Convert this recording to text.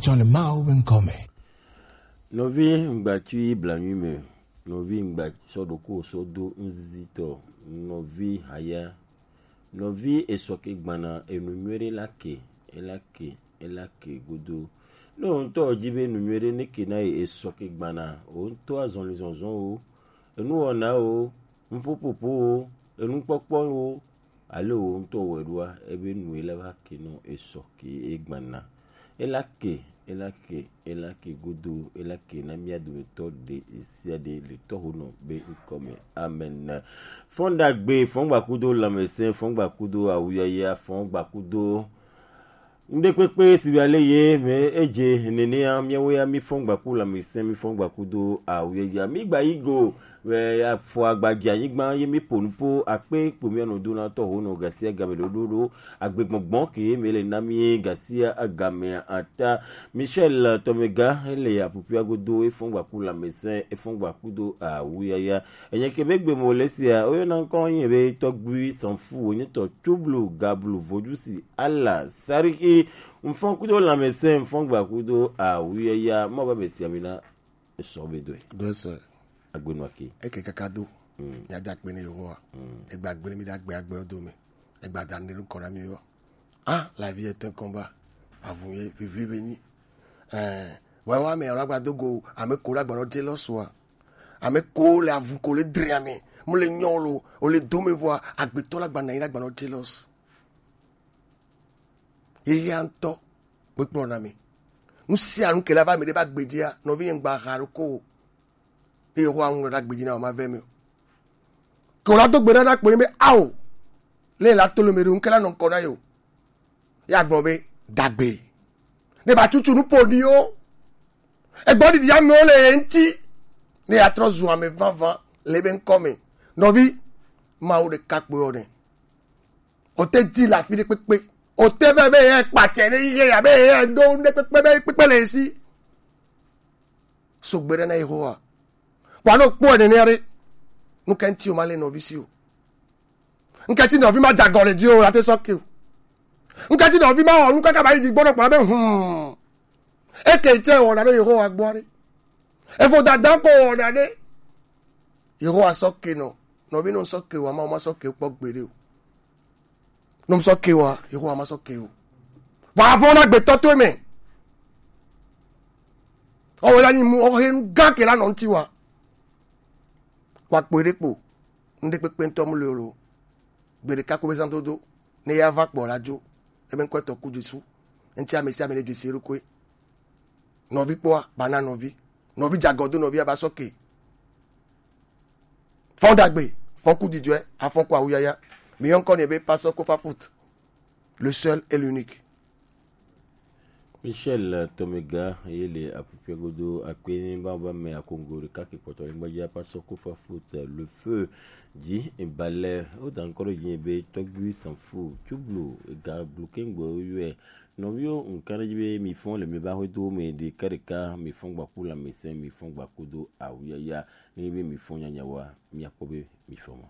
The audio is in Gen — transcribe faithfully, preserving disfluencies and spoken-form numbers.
Tsɔ le Mawu be ŋkɔ me. Nɔvi ŋgbatui blanui me, nɔvi ŋgbatsɔ ɖokuiwò sɔ do ŋzizitɔ, nɔvi haya, nɔvi esɔ ke gbana enu nyuie ɖe la ke, ela ke, ela ke godo. Ne wò ŋutɔ wòdi be nu nyuie ɖe ne ke na ye esɔ ke gbana, wò ŋutɔ azɔlizɔzɔwo, enuwɔnawo, nuƒoƒoƒowo, enukpɔkpɔwo, ale wò ŋutɔ wɔe ɖoa, ebe nu ye la va ke nɔ esɔ ke egbana. Ela ke, ela ke, ela ke godo, ela ke na mía dometɔ ɖe sia ɖe le Tɔhonɔ be ŋkɔ me. Amen. Fɔn ɖagbe, fɔn gbakudo lãmesẽ, fɔn gbakudo awuyaya, fɔn gbakudo ŋɖekpekpe si be ale ye me edze nenea, míawo ya mifɔn gbaku lãmesẽ, mifɔn gbakudo awuyaya. Migba yi go, be afɔ agbadze anyigba ye miƒo nuƒo akpe kpo mía nɔ do na Tɔhonɔ gasia game ɖoɖoɖo. Agbegbɔgbɔ ke ye me le na mi gasia game ata. Michel Tomega, ele aƒuƒua godo, efɔn gbaku lãmesẽ, efɔn gbakudo awuyaya. Enye ke be gbe mo le sia, oyɔna ŋkɔ nye be Tɔgbui Sanfu, wonye tɔ Tublu, Gablu, Vodusi, Ala, Sariki, ŋfɔn kudo lãmesẽ, ŋfɔn gbakudo awuyaya, mɔ ba mesia mina esɔ be doe. Doe sɔ. Agbenua ke. Eke kaka do. Mm. Mía da akpe ne Yehowa. Mm. Egba gbe mi da gbe agbe do me. Egba da ne kɔ na mi yo. Ah, la vie est un combat. Avun ye vivre veni. Eh, wa wa me la gba do go, ame ko la gba no jealous wa. Ame ko le avu ko le dre ame. Mo le nyo lo, o le do me vɔ, agbetɔ la gba na yi la gba no jealous. Yeyea ŋutɔ kpekplɔ na mi. Nu sia nu ke la va mi ɖe va gbedzia, nɔvi nye ŋgba ha ɖo ko o. Eye Yehowa ŋlɔ ɖa gbedzi na wò, mave mi o. Ke wòla do gbe ɖa na kpɔnye be, ao, le la to le me ɖo, ŋke la nɔ ŋkɔ na ye o. Ya gblɔ be, dagbe. Ne ba tutu nu ƒoɖiwo. Egbɔ ɖiɖi amewo le ye ŋuti. Ne ya trɔ zu ame vavã le ebe ŋkɔ me. Nɔvi, Mawu ɖeka kpoe wɔ nɛ. O te di le afi ɖe kpekpe. O te vɛ be ye kpatsɛ ɖe yi ye ya be ye ɖo nu ɖe kpekpe be kpekpe le esi. So gbe ɖe na Yehowa. Wa no kpɔ nene ɖe. Nu ka ŋuti o ma le nɔvi si o. Ŋketi nɔvi ma dze agɔ le dzi o, la te sɔ ke o. Ŋketi nɔvi ma wɔ nu kaka ba yi dzi gbɔdɔ kpɔ be, hmm. Eke tse wɔna ɖe Yehowa gbɔ ɖe. Evo dada ko wɔna ɖe. Yehowa sɔ ke nɔ. Nɔvi nɔ sɔ ke wa ma, ma sɔ ke kpɔ gbeɖe o. Nɔ sɔ ke wa, Yehowa ma sɔ ke o. Wa vɔ na gbetɔ to me. Ɔwɔ la nyi mu, ɔhe nu gã ke la nɔ ŋuti wa. Wa kpɔe ɖe kpo. Ŋɖe kpekpe ŋutɔ mu le o lo. Gbe ɖeka ko be zã dodo. Ne ya va kpɔ la dzo. Ebe ŋkɔ etɔ ku Jesu. Eŋti ame sia ame ne dzesi eɖokui. Nɔvi kpɔa, ba na nɔvi. Nɔvi dze agɔ do nɔvi aba sɔ ke. Fɔn dagbe, fɔn ku dzidzɔe, afɔn ku awuyaya. Mi yɔ ŋkɔ nɛ be Pasteur Kofa Foot. Le seul et l'unique. Michel Tomega, ye le apupiagodo akpe ni ba ba me akongo ɖeka ke kpɔtɔ le gbadza Pasteur Kofa Foot, le feu. Dzi balɛ, o da ŋkɔ ɖe dzi be Tɔgbui Sanfu, Tublu, ga blu kengbe o yɔe. Nɔviwo, ŋka ɖe dzi be mi fɔn le mi ba hwe do me ɖeka ɖeka, mi fɔn gbaku lãmesẽ, mi fɔn gbaku do awuyaya. Ne be mi fɔn nyanyawoa, mi akpɔ be mi fɔn mɔ.